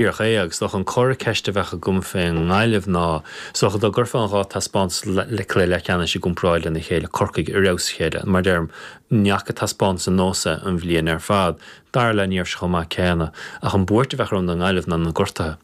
Díreach é, agus is dócha an comhartha ceiste a bheadh agam fén nGaillimh ná, is dócha dá gcuirfeá an dhá taispeántas cluiche leathcheannais i gcomparáid lena chéile, Corcaigh ar fheabhas a chéile, mar deirim, ní fhaca taispeántas ar nós é an bhliain ar fad. Dara leath ní raibh sé chomh maith céanna. Ach an buairt a bheadh orm don nGaillimh ná na gortuithe.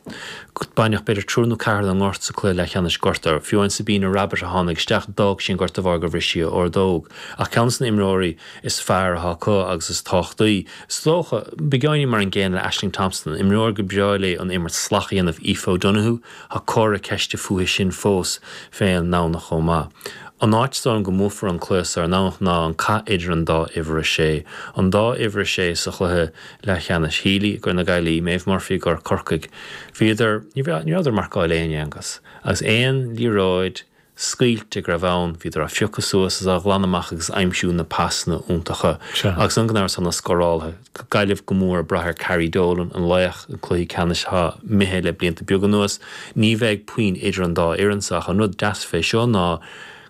Baineadh b'fhéidir triúr nó ceathrar den nGort sa cluiche leathcheannais gortaithe. Fiú amháin Sabina Rabbitte a tháinig isteach, d'fhág sí an gort de bharr gur bhris sí a ordóg. Ach ceann des na imreoirí is fearr atá acu agus is tábhachtaí, Is dócha, beagáinín mar an gcéanna le Ashling Thompson, imreoir gur breá léi an imirt salach a dhéanamh, Aoife O'Donoghue, tá comhartha ceiste fúithi sin fós fén nDomhnach chomh maith. An áit is dóigh liom go mbuafar an cluiche so ar an nDomhnach ná an cath idir an dá uimhir a sé. An dá uimhir a sé sa chluiche leathcheannais, Healy i gcomhair na Gaillimhe, Maeve Murphy i gcomhair Corcaigh. Bhíodar, ní rabhadar ag marcáil éinne, Aengus, agus aon liathróid, scaoilte go raibh ann, bhíodar á phiocadh suas is á ghlanadh amach agus aimsiú na pasanna iontacha. Agus gan amhras tá na scórálaithe, Gaillimh go mór ag brath ar Carrie Dolan, an laoch an cluichí ceannais atá imithe le blianta beaga anuas. Ní bheidh puinn idir an dá fhoireann so ach an rud deas fé seo ná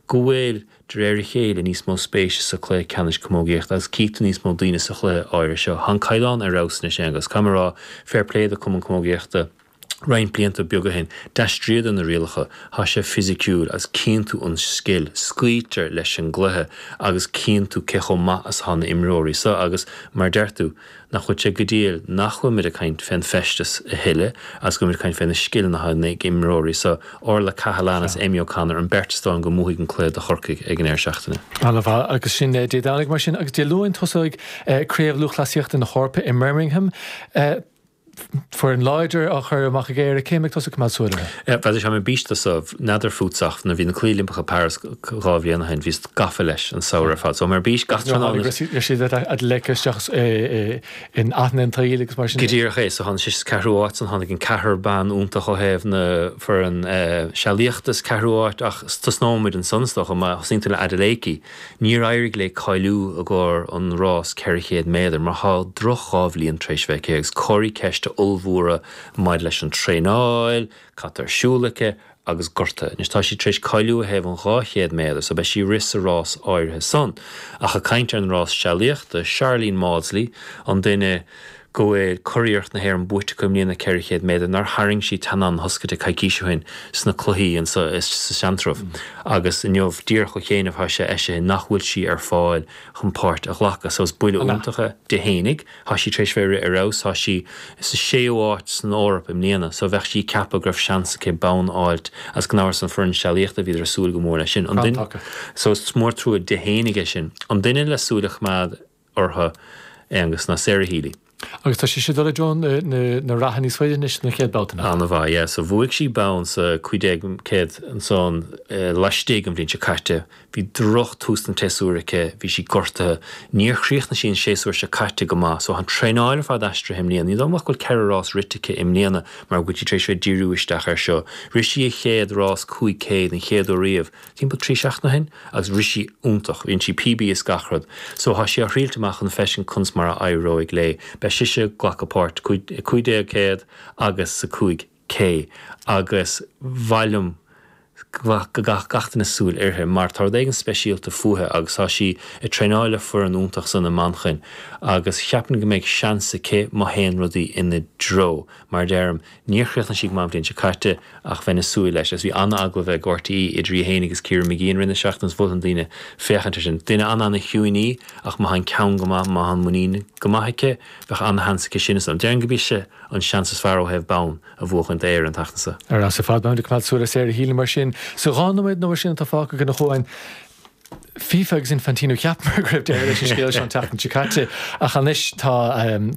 go bhfuil, de réir a chéile, níos mó spéise sa chluiche ceannais camógaíochta agus cífidh tú níos mó daoine sa chluiche áirithe seo. Tá an caighdeán ar fheabhas anois Aengus, caithfidh mé a rá, fair play do Cumann Camógaíochta. Roinnt blianta beaga ó shin, d'aistríodar na rialacha, tá sé fisiciúil agus cíonn tú an scil, scaoiltear leis an gcluiche agus cíonn tú cé chomh maith is atá na imreoirí so agus mar a deir tú, nach bhfuil sé go diail nach bhfuil muid ag caint fén feisteas a thuilleadh agus go bhfuil muid ag caint fé na scileanna atá ag imreoirí so, Orla Cahalane is Amy O'Connor an beirt is dóigh liom go mbuafaidh an cluiche do Chorcaigh ag an deireadh seachtaine. Ana-mhaith agus sin Dé Domhnaigh mar sin agus Dé Luain tosóidh Craobh Lúthchleasaíochta na hEorpa i mBirmingham. Foireann láidir á chur amach ag Éire, cé a mbeidh tusa ag coimeád súil orthu? Bhuel, tá mé ar bís tosú, n'fheadar fútsa ach nuair a bhí na Cluichí Oilimpeacha Paris 2 bhliain ó shin, bhíos gafa leis an samhradh ar fad. So, mé ar bís gach tráthnóna. Raibh siad leagtha isteach in aithne an tsaoil agus mar sin de. Go díreach é. So tháinig sise sa ceathrú áit, ansan tháinig an ceathrar ban iontach ó thaobh na foireann sealaíochta sa ceathrú áit ach tosnóimid ansan is dócha, má thosaíonn tú le Adeleke. Níor éirigh léi cáiliú i gcomhair an rás 400 méadar mar tá droch 2 bhliain tar éis bheith aici agus comharthaí ceiste ollmhóra maidir leis an traenáil, cad tá ar siúl aici agus gortuithe. Anois tá sí tar éis cáiliú ó thaobh an 200 méadar so beidh sí ag rith sa rás áirithe san. Ach ag caint ar an rás sealaíochta, Sharlene Mawdsley an duine go bhfuil curiarracht na hÉireann buaite aici i mbliana 400 méadar nár tharraing sí teannán na hoscaide coicís ó shin sna cluichí anso sa Seantrabh agus inniu díreach ó chianaibh tá sé eisithe nach bhfuil sí ar fáil chun páirt a ghlacadh so is buille iontach é di fhéinig. Tá sí tar éis bheith ag rith ar fheabhas, tá sí sa séú áit san Eoraip i mbliana so bheadh sí ag ceapadh go raibh seans aici bonn a fháilt agus gan amhras an foireann sealaíochta bhíodar ag súil go mór leis sin. An duine so is mór trua di fhéinig é sin. An duine le súil a choimeád orthu, Aonghus, ná Sarah Healy. Agus tá sise ag dul i dtreo na ratha níos faide anois don chéad babhta, nach? An-mhaith, yeah. So bhuaigh sí bonn sa 1500 ansan laistigh an bhliain seo caite. Bhí droch tús don tséasúr aici, bhí sí gortaithe. Níor chríochnaigh sí an séasúr seo caite go maith. So tá an traenáil ar fad aistrithe i mbliana. Ní dóigh liom ach go bhfuil ceithre rás rite aici i mbliana mar go bhfuil sí tar éis bheith ag díriú isteach air seo. Rith sí a chéad rás 500 an chéad uair riamh. timpeall 3 seachtaine ó shin agus rith sí iontach, rinne sí PB is gach rud. So tá sí á thriailt amach chun feiscint conas mar a éireoidh léi. Beidh sise ag glacadh páirt 1500 agus sa 5K agus mhaith liom go gcaithfeadh gach duine súil uirthi mar tá rud éigin speisialta fúithi agus tá sí ag traenáil le foireann iontach san i Manchain agus cheapfainn go mbeidh seans aici má théann rudaí ina dtreo. Mar a deirim, níor chríochnaigh sí go maith an bhliain seo caite ach bheinn ag súil leis. Agus bhí an-agallamh ag RTÉ idir í féin agus Ciara Mageean i rith na seachtaine agus mholfainn daoine féachaint air sin. Duine an-an-chiúin í ach má tá an ceann go maith, má tá an muinín go maith aici, bheadh an-sheans aici sin. Is déarfainn gurb ise an seans is fearr ó thaobh bonn a bhuachaint d'Éire an tseachtain seo. Ar fheabhas ar fad, beimid ag coimeád súil ar Sarah Healy mar sin. Sa 2 nóiméad nó mar sin atá fágtha againn a Chuain, FIFA agus Infantino, cheapamar go raibh deireadh leis an scéal seo an tseachtain seo caite, ach anois tá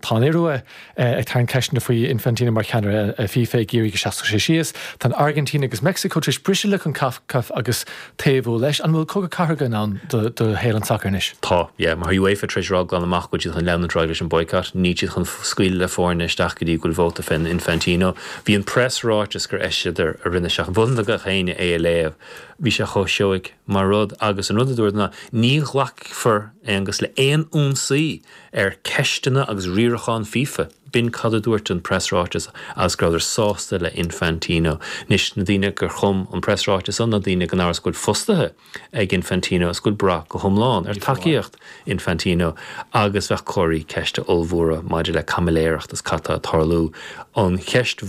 tá an Iorua ag tarraingt ceisteanna faoi Infantino mar cheannaire FIFA ag iarraidh go seasfadh sé síos. Tá an Airgintín agus Meicsiceo tar éis briseadh le Concacaf agus taobhú leis. An bhfuil cogadh cathartha i ndán do shaol an tsacair anois? Tá, yeah. Mar tá UEFA tar éis rá glan amach go bhfuil siad chun leanúint ar aghaidh leis an boycott. Níl siad chun scaoileadh le foirne isteach go dtí go bhfuil vóta fén Infantino. Bhí an preasráiteas gur eisíodar i rith na seachtaine. Mholfainn do gach éinne é a léamh. Bhí sé chomh seoigh mar rud agus an rud a dúirt. dúradar ná ní ghlacfar, Aonghus, le aon ionsaí ar ceisteanna agus riarachán FIFA. B'in cad a dúirt an preasráiteas agus go rabhadar sásta le Infantino. Anois, na daoine gur chum an preasráiteas san ná daoine gan amhras go bhfuil fostaithe ag Infantino is go bhfuil brath go hiomlán ar tacaíocht Infantino agus bheadh comharthaí ceiste ollmhóra maidir le caimiléireacht is cad tá ag tarlú. An cheist.